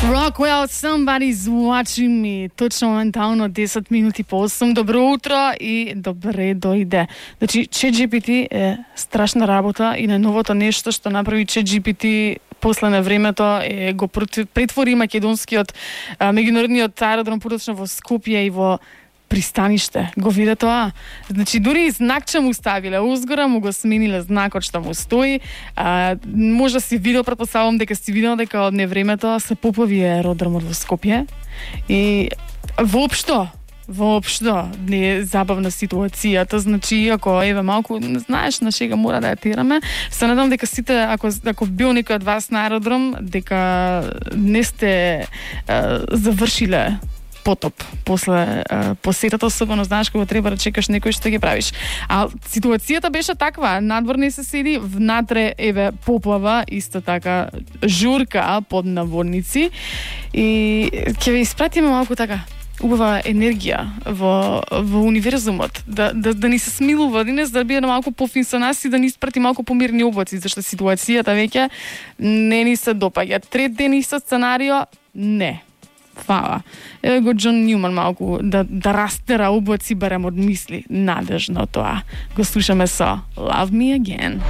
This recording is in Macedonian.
Rockwell, Somebody's Watching Me. Точно моментално 10 минути по 8. Добро утро и добре дојде. Значи, ChatGPT е страшна работа и најновото нешто што направи ChatGPT после на времето е го претвори македонскиот меѓународниот аеродром поточно во Скопје и во пристаниште. Го виде тоа. Значи, дури и знакче му ставиле узгора, му го смениле знакот што му стои. Може си видел, претпоставувам дека си видел дека од невремето се поплави аеродромот во Скопје. И воопшто не е забавна ситуацијата. Значи, ако еве малку знаеш на шега мора да ја тераме, се надам дека сите ако бил некој од вас на аеродром, дека не сте завршиле потоп после посетата, особено знаеш кога треба да чекаш некој што ги правиш. А ситуацијата беше таква, надвор не се седи, внатре еве поплава, исто така журка под наводници и ќе ве испратиме малку така убава енергија во универзумот, да ни се смилува денес, да биде малку пофин со нас и да ни испрати малку помирни облаци, зашто ситуацијата веќе не ни се допаѓа. Трет ден исто сценарио, не. Фала. Еве го Џон Њуман малку да растера облаци барем од мисли. Надежно тоа. Го слушаме со Love Me Again.